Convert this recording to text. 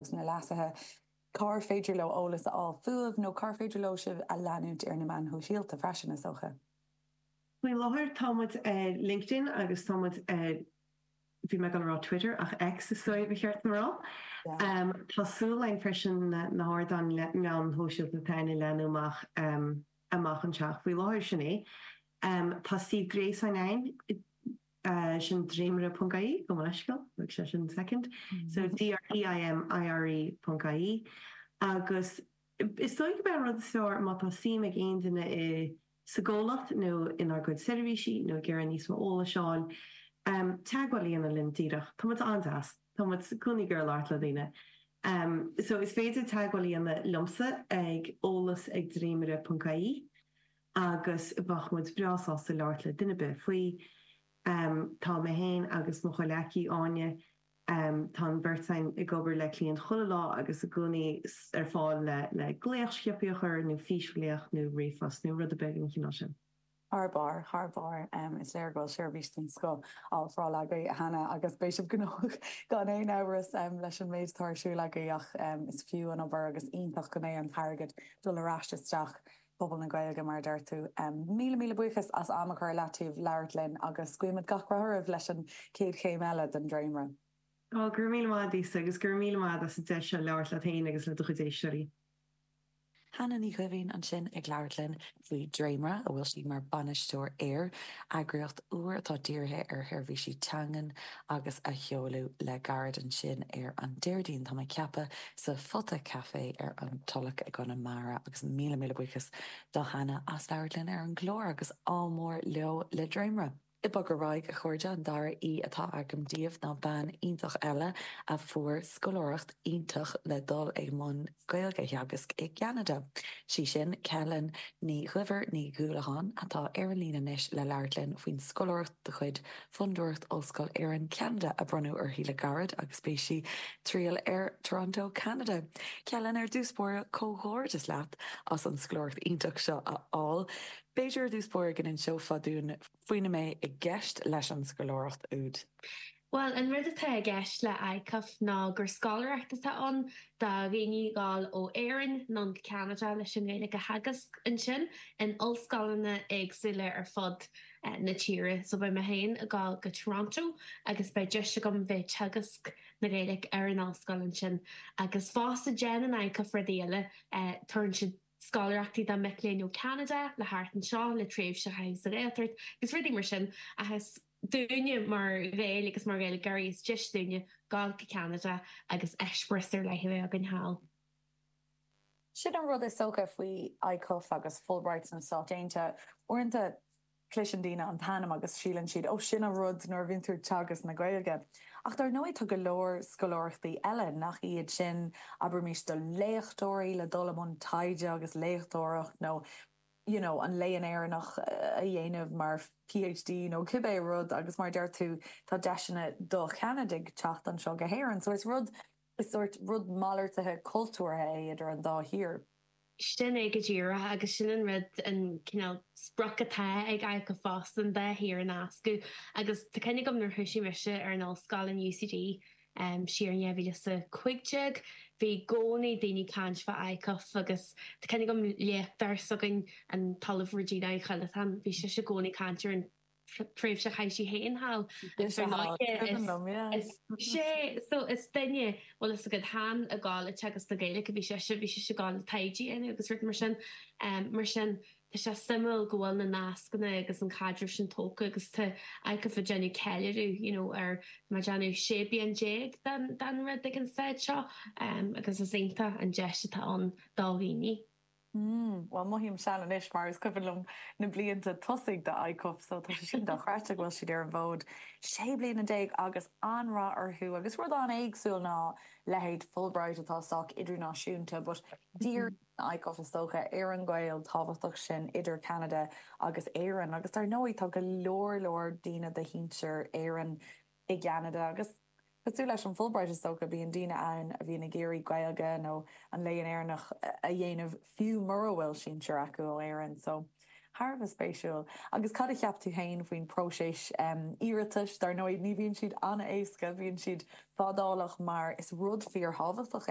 agus na leasuithe, cár féidir leo eolas a fháil fúibh nó cár féidir leo sibh a leanúint ar na meáin shóisialta freisin, is dócha? Faoi láthair tá muid ar LinkedIn agus tá muid ar, bhí mé ag dul a rá Twitter ach X is dóigh ba cheart dom a rá. Tá súil againn freisin na hardáin meáin shóisialta atá ann a leathnú amach amach anseo. Faoi láthair sin é. Tá suíomh gréasáin againn, sin dréimire ponc ie, gabh mo leithscéal, thóg sé sin soicind, so D-R-E-I-M-I-R-E ponc ie agus is dóigh gurb é an rud is fearr má tá suim ag aon duine i sa gcomhlacht nó inár gcuid seirbhísí nó ag iarraidh níos mó eolais a fháil, teagmháil a dhéanamh linn díreach. Tá muid an-deas. Tá muid i gcónaí ag iarraidh labhairt le daoine. So is féidir teagmháil a dhéanamh liomsa ag eolas ag dréimire ponc ie agus bheadh muid breá sásta labhairt le duine ar bith faoi. Tá mé féin agus mo chomhleacaí Áine Tá an bheirt againn ag obair le cliaint chuile lá agus i gcónaí ar fáil le glaoch sciobtha a chur nó físghlaoch nó ríomhphost nó rud ar bith den chineál sin. Thar barr, thar barr. Is léir go bhfuil seirbhís den scoth á ofráil agaibh, a Hannah, agus beidh sibh gnóthach gan aon amhras leis an méid atá ar siúl agaibh ach is fiú an obair agus iontach go mbeidh an t-airgead dul ar ais isteach pobal na Gaeilge, mar a deir tú. Míle míle buíochas as am a chur i leataobh labhairt linn agus guímid gach rath oraibh leis an chéad chéim eile den Dréimire. Ó, go raibh míle maith agat, Lisa, agus go raibh míle maith agat as an deis seo labhairt leat féin agus le do chuid éisteoirí. Hannah Ní Dhoimhín ansin ag labhairt linn faoi Dréimire, a bhfuil sí mar bainisteoir air, eagraíocht úr atá dírithe ar sheirbhísí teangan agus a sheoladh le gairid ansin ar an Déardaoin, tá mé ag ceapadh, sa Phota Café ar an Tulach i gConamara agus míle míle buíochas do Hannah as labhairt linn ar an gclár agus ádh mór leo le Dréimire. Ag bogadh ar aghaidh, a chairde, an dara aoi atá agam daoibh ná bean iontach eile a fuair scoláireacht iontach le dul i mbun Gaeilge a theagasc i gCeanada. Sí sin Celyn Ní Dhuibhir Ní Dhúlacháin atá ar an líne anois le labhairt linn faoin scoláireacht de chuid Fondúireacht Ollscoil Éireann, Ceanada a bronnadh uirthi le gairid agus beidh sí ag triall ar Toronto, Ceanada. Celyn, ar dtús báire, comhghairdeas leat as an scoláireacht iontach seo a fháil. B'fhéidir ar dtús báire go n-inseofá dúinn faoina mbeidh i gceist leis an scoláireacht úd. Bhuel, an rud atá i gceist le ICUF ná gur scoláireacht atá ann do dhaoine dhul ó Éirinn anonn go Ceanada leis an nGaeilge a theagasc ansin in ollscoileanna éagsúla ar fud na tíre. So beidh mé féin ag dul go Toronto agus beidh deis agam bheith ag teagasc na Gaeilge ar an ollscoil ansin. Agus fosta déanann ICUF rudaí eile, tabharann siad scoláireachtaí do mic léinn ó Ceanada le theacht anseo le tréimhse a chaitheamh sa Ghaeltacht agus rudaí mar sin. Ach is dúinne mar Ghaeil agus mar Ghaeilgeoirí is deis dúinne dul go Ceanada agus eispéireas ar leith a bheith againn thall. Sin an rud is dócha faoi ICUF agus Fulbright sna Stáit Aontaithe. Uaireanta cloiseann daoine an t-ainm agus síleann siad, 'Ó, sin an rud nuair a bhíonn tú ag teagasc na Gaeilge. Ach dar ndóigh tá go leor scoláireachtaí eile nach iad sin, abraimis do léachtóirí le dul i mbun taighde agus léachtóireacht nó you know an Léann Éireannach a dhéanamh mar PhD nó cibé rud agus mar a deir tú tá deiseanna do Cheanadaigh teacht anseo go hÉirinn. So is rud Is sórt rud malartaithe cultúrtha é idir an dá thír. Sin é go díreach agus sin an rud, an cineál sprioc atá ag ICUF fosta, an dá thír a nascadh. Agus tá cuimhne agam nuair a thoisigh mise ar an ollscoil in UCD siar in 2015, bhí i gcónaí daoine ag caint fá ICUF agus tá cuimhne agam léachtóir s'againn, an tOllamh Regina Uí Choileatáin, bhí sise i gcónaí ag caint ar an tréimhse a chaith sí féin thall agus ar ndóighe is sé so is duine bhfuil fhios agat chan ag gabháil ag teagasc na Gaeilge a bhí sise bhí sise ag gabháil le taighde a dhéanamh agus rud mar sin mar sin tá sé suimiúil go bhfuil na nascanna agus an caidreamh sin tógtha agus tá ICUF ag déanamh ceiliúradh you know ar tá mé ag déanamh 16 bliain den den rud ag an staid seo agus is iontach an deis atá ann do dhaoine. Mm, bhuel mothaím sean anois mar is cuimhin liom na blianta tosaigh de ICUF so tá sé sin dochreidte go bhfuil siad ar an bhfód 16 bliana agus an-rath orthu agus rud an-éagsúil ná leithéid Fulbright atá sách idirnáisiúnta but díríonn ICUF is dócha ar an ghaol tábhachtach sin idir Ceanada agus Éirinn agus dar ndóigh tá go leor leor daoine de shinsir Éireann i gCeanada agus cosúil leis an Fulbright is dócha, bíonn daoine ann a bhíonn ag iarraidh Gaeilge nó an Léann Éireannach a dhéanamh fiú mura bhfuil sinsir acu ó Éirinn. So, Thar a bheith spéisiúil. Agus cad a cheap tú féin faoin próiseas iarratais? Dar ndóigh, ní bhíonn siad an-éasca, bíonn siad fadálach mar is rud fíorthábhachtach é.